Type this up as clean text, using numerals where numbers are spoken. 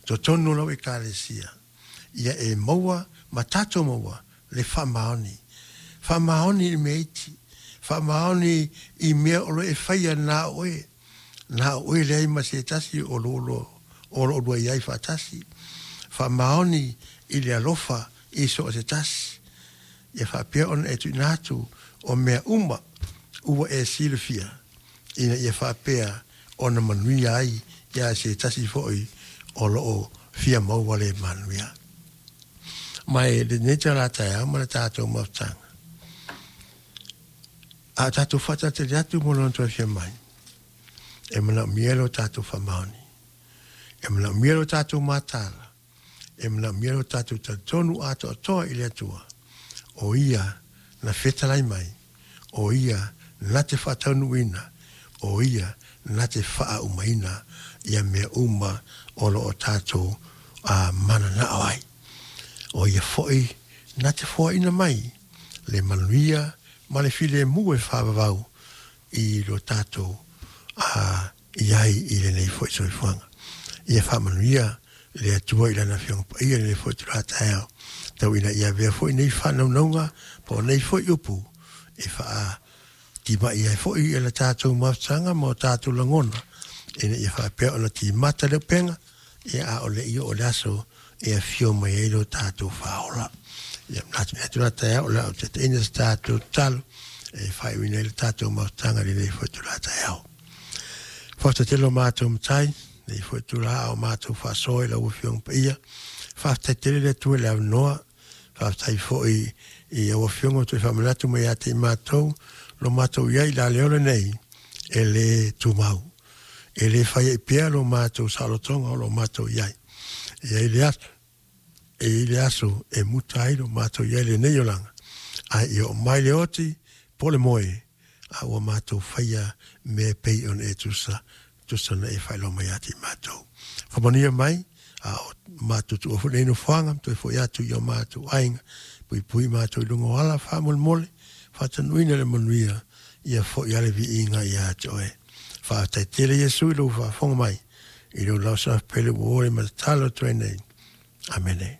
totonu o lau Ekalesia, ia e maua ma tatou maua le faamaoni. Faamaoni i le mea iti, faamaoni i mea o lo o e faia na o oe, na o oe leai ma se tasi o lo o lo o oulua i ai faatasi. Faamaoni i le alofa i so o se tasi. Ia faapea ona e tuuina atu o mea uma ua e silafia, ina ia faapea ona manuia ai ia se tasi foi o lo o fia maua le manuia. Ma e lenei itula taeao ma le tatou mafutaga, a o tatou faatalitali atu mo lona toe afio mai, e manaomia lo tatou faamaoni, e manaomia lo tatou mataala, e manaomia lo tatou talitonu atoatoa i le Atua, o Ia na fetalai mai, o Ia na te faataunuuina, o Ia na te faaaumaina ia mea uma o lo o tatou mananao ai. O Ia foi na te foaina mai le manuia ma le filemu e faavavau i lo tatou i ai i lenei foi soifuaga. Ia faamanuia le Atua i Lana Afioga Paia i lenei foi itula taeao, tau ina ia avea foi nei faanaunauga po o nei foi upu e faatimai ai foi i le tatou mafutaga ma o tatou lagona, ina ia faapea ona timata le upega, ia a o le i oo le aso e afio mai ai lo tatou Faaola. Ia manatu i lenei itula taeao o le a ou taitaiina se tatou tatalo e faaiuina ai le tatou mafutaga i lenei foi itula taeao. Faafetai tele lo matou Matai, lenei foi itula a o matou faasoa i lau Afioga Paia. Faafetai tele le Atua i le avanoa. Faafetai foi i lau Afioga ua toe faamanatu mai ia te i matou lo matou i ai i le aleola nei e le tumau. E le fai ai pea lo matou saolotoga o lo matou i ai. E i ai le aso, e i ai le aso e muta ai lo matou i ai i lenei olaga, ae ia oo mai le oti po o le moe, a ua matou faia mea e pei ona e tusa, tusa ona e faailoa mai ia te i matou. Faamanuia mai, a o matou tuua foi lenei nofoaga, ma toe foi atu i o matou aiga, puipui matou i luga o ala faamolemole, faatanuuina le manuia, ia foi lava le viiga ia te oe. Faafetai tele Iesu i lou faafofoga mai, i lou lausafi pele ua o le ma tatalo atu ai nei. Amene.